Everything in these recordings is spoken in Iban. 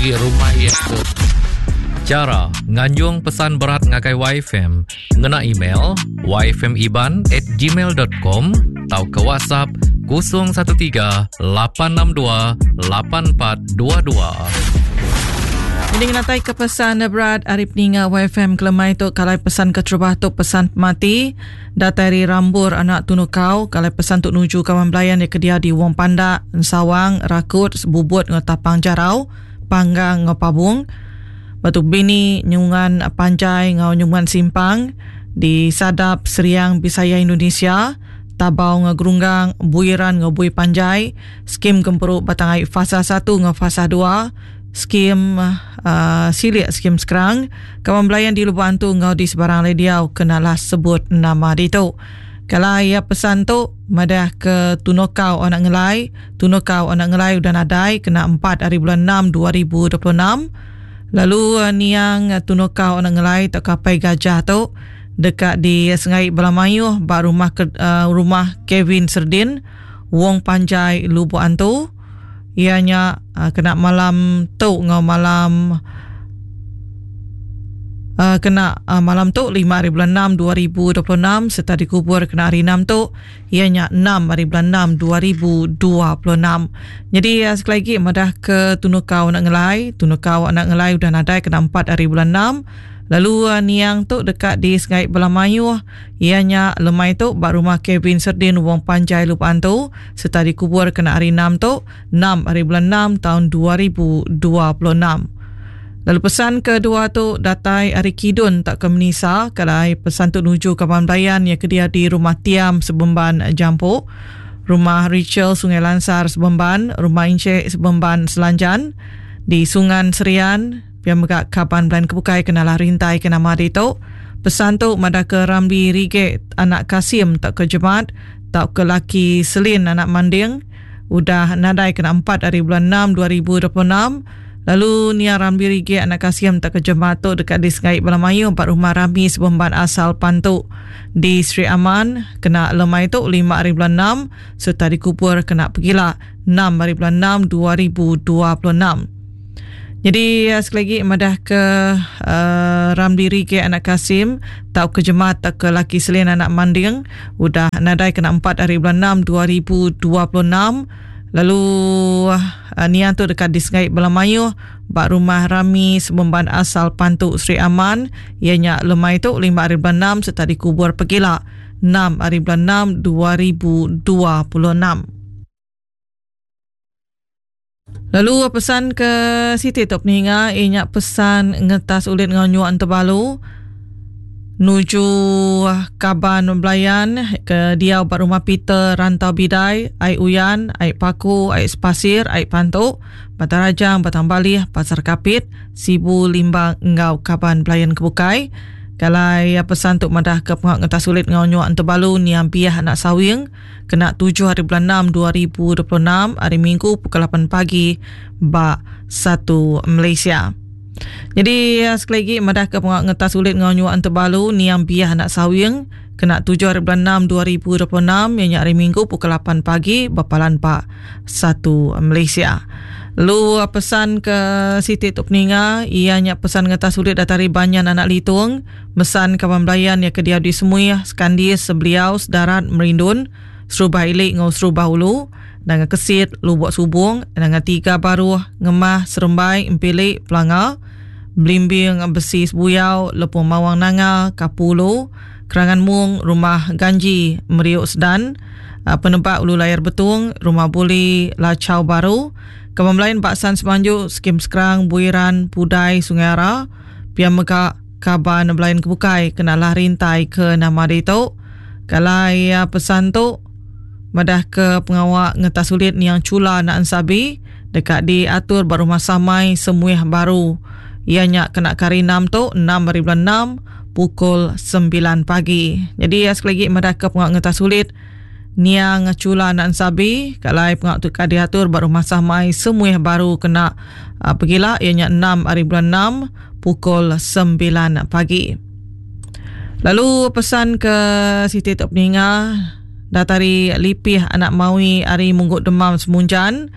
Agi rumah iya tu. Chara nganjung pesan berat ngagai YFM ngena email yfmiban at gmail dot com tauka WhatsApp 013 862 8422. Ini ngenatai ke pesan berat ari peninga YFM kelemai tu kalai pesan keterubah tu pesan pemati datai ari Rambur anak Tunukau kalai pesan tu nuju kaban belayan iya ke diau di Wong Pandak, Ensawang, Rakut, Sebubut enggau Tapang Jarau, Panggang enggau Pabung. Batu Bini, Nyungan Panjai enggau Nyungan Simpang di Sadap, Seriang, Bisaya Indonesia, Tabau enggau Gerunggang, Buiran enggau Bui Panjai, Skim Gempuru Batang Ai Fasa satu enggau Fasa dua, Skim uh, Silik Skim Skrang, Kaban Belayan di Lubok Antu enggau di sebarang alai diau kenalah sebut nama ditu. Kala iya pesan tu madah ke Tunokau anak Ngelai, Tunokau anak Ngelai udah nadai kena empat hari bulan enam 2026. Lalu eh, niang Tunokau anak Ngelai tauka Apai Gajah tu deka disengai bala mayuh ba rumah ke, uh, rumah Kevin Serdin, Wong Panjai Lubok Antu. Iya nya kena malam tu enggau malam kena malam tu lima hari bulan enam 2026 sereta dikubur kena hari enam tu iya nya enam hari bulan enam 2026. Nyadi sekali agi madah ke Tunukau anak Ngelai, Tunukau anak Ngelai udah nadai kena empat hari bulan enam lalu niang tu deka disengai bala mayuh iya nya lemai tu ba rumah Kevin Serdin Wong Panjai Lubok Antu. sereta dikubur kena hari Enam tu, enam hari bulan enam taun 2026. Lalu pesan kedua tu datai ari Kidun tauka Menisa kelai pesan tu nuju kaban belayan iya ke diau di Rumah Tiam Sebemban Jampu, Rumah Rachel Sungai Lansar Sebemban, Rumah Inchek Sebemban Selanjan di Sungan Serian, pia mega kaban belayan ke bukai ke nalah rintai ke nama ditu. Pesan tu madahka Ramli Rigek anak Kasim tauka Jemat tauka laki Selin anak Manding udah nadai kena empat ari bulan enam 2026 lalu nia Ramli Rigik anak Kasim tauka Jemat tu deka disengai bala mayuh ba rumah rami Sebemban Asal Pantu di Sri Aman kena lemai tu lima ari bulan enam sereta dikubur kena pegila enam ari bulan enam 2026. Nyadi sekali agi madah ke uh, Ramli Rige anak Kasim tauka Jemat tauka laki Selin anak Manding udah nadai kena 4 hari bulan 6 2026 lalu uh, niang tu deka disengai bala mayuh ba rumah Rami Sebemban Asal Pantu Sri Aman iya nya lemai tu 5 hari bulan 6 sereta dikubur pegila 6 hari bulan 6 2026. Lalu pesan ke siti tu peninga iya nya pesan ngetas ulit enggau nyuak entebalu nuju kaban belayan ke diau ba rumah Peter Rantau Bidai, Ai Uyan, Ai Paku, Ai Sepasir, Ai Pantu, Batang Rajang, Batang Balih, Pasar Kapit, Sibu, Limbang enggau kaban belayan ke bukai. Kalai pesan tu madah ke pengawa ngetas ulit enggau nyuak entebalu niang Biah anak Sawing kena tujuh hari bulan enam 2026 hari Minggu pukul lapan pagi ba Satu Malaysia. Jadi eh, sekali lagi madah ke pengawa ngetas ulit enggau nyuak entebalu niang Biah anak Sawing kena tujuh hari bulan enam 2026 iya nya hari Minggu pukul lapan pagi ba Palan Pak Satu Malaysia. Lalu eh, pesan ke siti tu peninga iya nya pesan ngetas ulit datai ari Banyan Anak Litung Mesan kaban belayan iya ke diau di Semuih, Sekandis, Sebeliau, Sedarat, Merindun, Serubah Ili enggau Serubah Ulu, Nanga Kesit, Lubok Subong, Nanga Tiga Baruh, Ngemah, Serembai, Empili, Pelanga, Belimbing, Besi Sebuyau, Lepung Mawang Nanga, Kapu Ulu, Kerangan Mung, Rumah Ganji, Meriuk Sedan, Penebak Ulu Layar Betung, Rumah Buli, Lachau Baru, Kaban Belayan Baksan Semanju, Skim Skrang, Buiran, Pudai, Sungai Ara, Pia mega kaban belayan ke bukai kena lah rintai ke nama ditu. Kalai pesan tu madah ke pengawa ngetas ulit niang Chula anak Ensabi deka diatur ba Rumah Samai Semuih Baru. Iya nya kena ke hari enam tu, enam hari bulan enam pukul sembilan pagi. Jadi sekali agi madah ke pengawa ngetas ulit Niang Chula anak Ensabi kalai pengawa tu ka diatur ba Rumah Samai Semuih Baru kena uh, pegila iya nya 6 hari bulan 6 pukul 9 pagi. Lalu pesan ke siti tu peninga datari Lipih anak Mawi ari Munggu Demam Semunjan.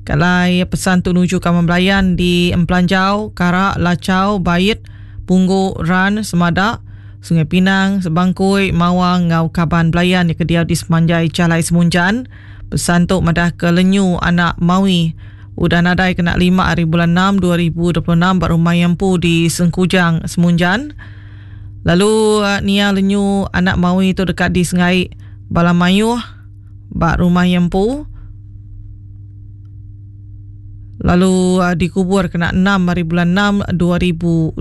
Kalai pesan tu nuju kaban belayan di Empelanjau, Karak, Lachau, Bait, Punggu, Ran, Semadak, Sungai Pinang, Sebangkui, Mawang enggau kaban belayan ke diau di semanjai Jalai Semunjan. Pesan tu madah ke lenyu anak Mawi udah nadai kena lima hari bulan enam 2026 ba rumah iya empu di Sengkujang, Semunjan. Lalu nia lenyu anak Mawi tu deka disengai bala mayuh ba rumah iya empu. Lalu dikubur kena enam hari bulan enam 2026.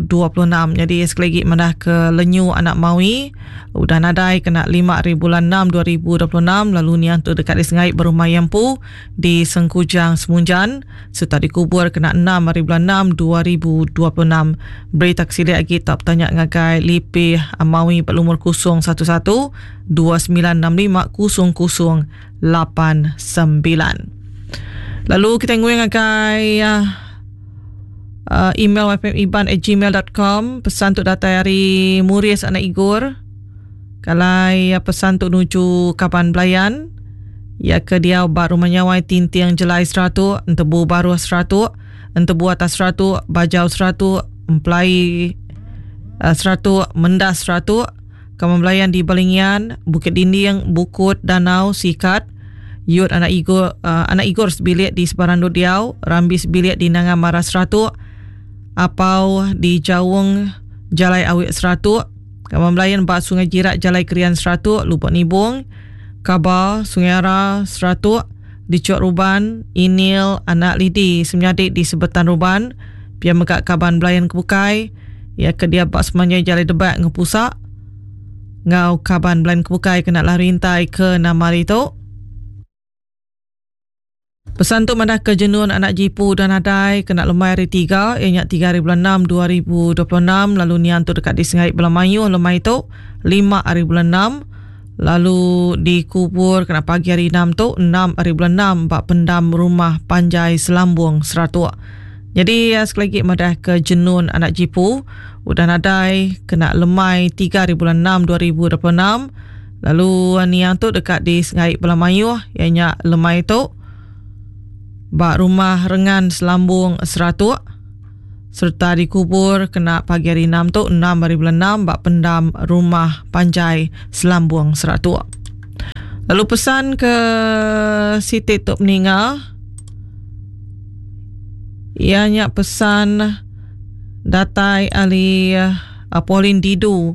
Nyadi sekali lagi madah ke lenyu anak Mawi udah nadai kena lima hari bulan enam 2026 lalu niang tu deka disengai ba rumah iya empu di Sengkujang Semunjan sereta dikubur kena enam hari bulan enam 2026. Berita ke silik agi tau betanya ngagai Lipih Mawi ba lumur 011 2965 0089. Lalu kita nguing ngagai email yfmiban@gmail.com. Pesan tu datai ari Muris anak Igor. Kalai pesan tu nuju kaban belayan ya ke diau ba Rumah Nyawai Tinting Jelai Seratuk, Entebu Baruh Seratuk, Entebu Atas Seratuk, Bajau Seratuk, Emplai Seratuk, Mendas Seratuk, Kaban belayan di Balingian, Bukit Dinding, Bukut, Danau, Sikat, Yut anak Igor anak Igor sebilik di Sebarandu Diau, Rambi sebilik di Nanga Mara Seratuk, Apau di Jaung Jalai Awik Seratuk, Kaban belayan ba Sungai Jirak Jalai Krian Seratuk, Lubok Nibong, Kaba, Sungai Ara, Seratuk, di Chok Ruban, Inil, anak Lidi semenyadi di Sebetan Ruban, pia mega kaban belayan ke bukai, iya ke dia ba semanjai Jalai Debak enggau Pusa enggau kaban belayan ke bukai kena lah rintai ke nama hari tu. Pesan tu madah ke jenun anak jipu udah nadai kena lemai hari tiga iya nya tiga hari bulan enam 2026 lalu niang tu deka disengai bala mayuh lemai tu lima hari bulan enam lalu dikubur kena pagi hari enam tu enam hari bulan enam ba pendam rumah panjai Selambung Seratuk. Nyadi sekali agi madah ke jenun anak jipu udah nadai kena lemai tiga hari bulan enam 2026 lalu niang tu deka disengai bala mayuh iya nya lemai tu ba rumah Rengan Selambung Seratuk sereta dikubur kena pagi hari enam tu enam hari bulan enam ba pendam rumah panjai Selambung Seratuk. Lalu pesan ke siti tu peninga iya nya pesan datai ari Pauline Didu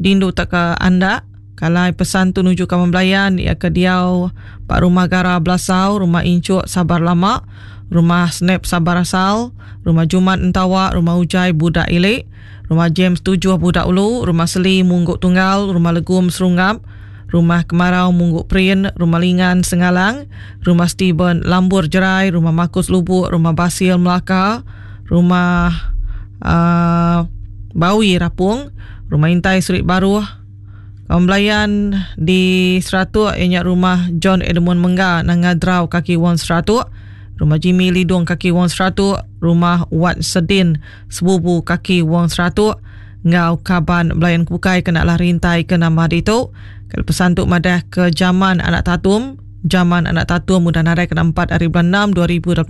Dindu tauka Andak Kalai pesan tu nuju kaban belayan iya ke diau ba Rumah Gara Belasau, Rumah Inchuk Sabar Lama, Rumah Snap Sabar Asal, Rumah Jumat Entawa, Rumah Ujai Budak Ili, Rumah James Tujuh Budak Ulu, Rumah Seli Mungguk Tunggal, Rumah Legum Serungap, Rumah Kemarau Mungguk Perin, Rumah Lingan Sengalang, Rumah Steven Lambur Jerai, Rumah Markus Lubuk, Rumah Basil Melaka, Rumah uh, Bawi Rapung, Rumah Intai Surik Baruh, Kaum belayan di Seratuk iya nya Rumah John Edmund Mengga Nanga Drau Kaki Wong Seratuk, Rumah Jimmy Lidong Kaki Wong Seratuk, Rumah Wat Sedin Sebubu Kaki Wong Seratuk enggau kaban belayan ke bukai kena lah rintai ke nama ditu. Kali pesan tu madah ke jaman anak Tatum, jaman anak Tatum udah nadai kena empat hari bulan enam 2026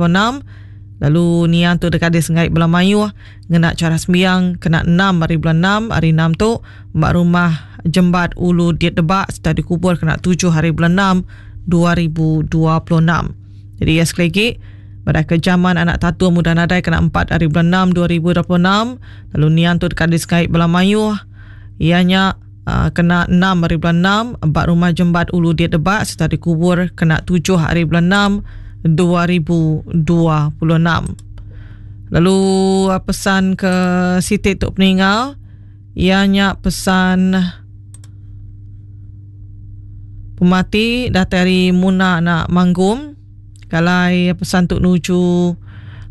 lalu niang tu deka disengai bala mayuh ngena chara sembiang kena enam hari bulan enam hari enam tu ba rumah Jembat Ulu Dit Debak sereta dikubur kena tujuh hari bulan enam 2026. Jadi iya sekali agi madah ke jaman anak Tatum udah nadai kena empat hari bulan enam 2026 lalu niang tu deka disengai bala mayuh iya nya kena enam hari bulan enam ba rumah Jembat Ulu Dit Debak sereta dikubur kena tujuh hari bulan enam 2026. Lalu pesan ke siti tu peninga iya nya pesan pemati datai ari Muna anak Manggum kalai pesan tu nuju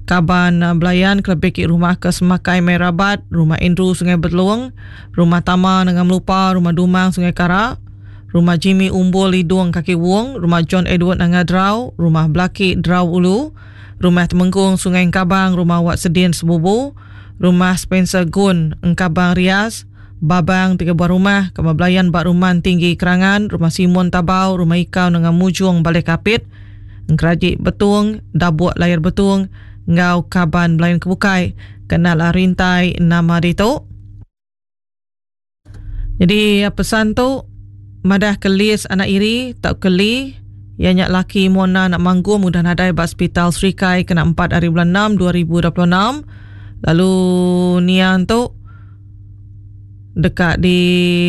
kaban belayan kelebih agi rumah ke Semakai Mai Rabat, Rumah Andrew Sungai Belung, Rumah Tama Nanga Melupa, Rumah Dumang Sungai Kara, Rumah Jimmy Umbul Lidung Kaki Wong, Rumah John Edward Nanga Drau, Rumah Belaki Drau Ulu, Rumah Temenggung Sungai Engkabang, Rumah Wat Sedin Sebubu, Rumah Spencer Gun Engkabang Rias, Babang tiga buah rumah, Kamar Belayan ba Rumah Tinggi Kerangan, Rumah Simon Tabau, Rumah Ikau Nengah Mujung Baleh Kapit, Engkeraji Betung, Dabuk Layar Betung enggau kaban belayan ke bukai kena rintai nama ditu. Jadi pesan tu madah ke lis anak iri tauka li iya nya laki Mona anak Manggum udah nadai ba Sepital Serikai kena 4 hari bulan 6 2026 lalu niang tu deka di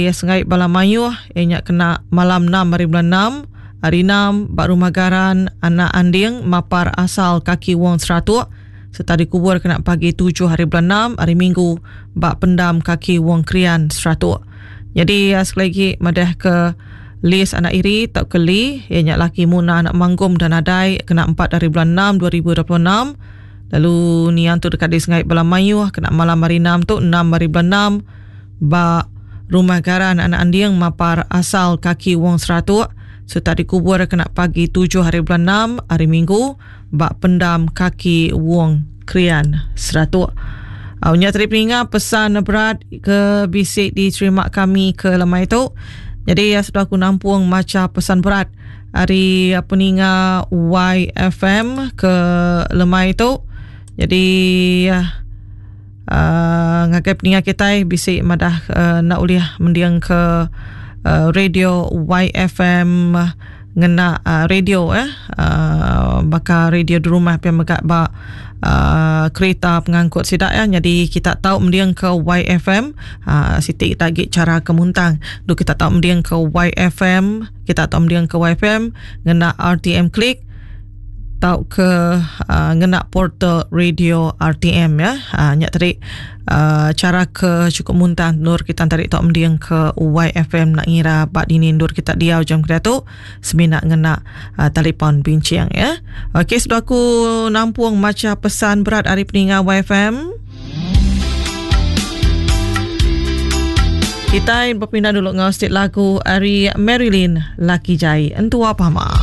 sengai bala mayuh iya nya kena malam 6 hari bulan 6 hari 6 ba Rumah Garan anak Anding Mapar asal Kaki Wong Seratuk sereta dikubur kena pagi tujuh hari bulan enam hari Minggu ba pendam kaki Wong Krian Seratuk. Nyadi sekali agi madah ke lis anak iri tauka li iya nya laki Muna anak Manggum dan nadai kena empat hari bulan enam 2026 lalu niang tu deka disengai bala mayuh kena malam hari enam tu enam hari bulan enam ba Rumah Garan Anak Anding Mapar asal kaki Wong Seratuk sereta dikubur kena pagi tujuh hari bulan enam hari Minggu ba pendam kaki Wong Krian Seratuk. Au nya tadi peninga pesan berat ke bisi diterima kami ke lemai tu. Jadi ya sudah aku nampung macha pesan berat ari peninga YFM ke lemai tu. Jadi uh, ngagai peninga kitai bisi madah uh, nak ulih mending ke uh, radio YFM ngena uh, radio eh uh, baka radio di rumah pia mega ba uh, kereta pengangkut sida ya jadi kita tau mending ke YFM uh, siti kita agi cara ke muntang du kita tau mending ke YFM kita tau mending ke YFM ngena RTM Click tauka uh, ngena portal radio RTM ya. Uh, nya tadi uh, cara ke cukup muntah nur kita tadi tok mending ke YFM nak ngira bak dini nur kita diau jam kedai tu semina ngena uh, telefon bincang ya. Okey sudah aku nampung maca pesan berat hari peninga YFM. Kita berpindah dulu ngau stik lagu ari Marilyn Laki Jai Entua Pama.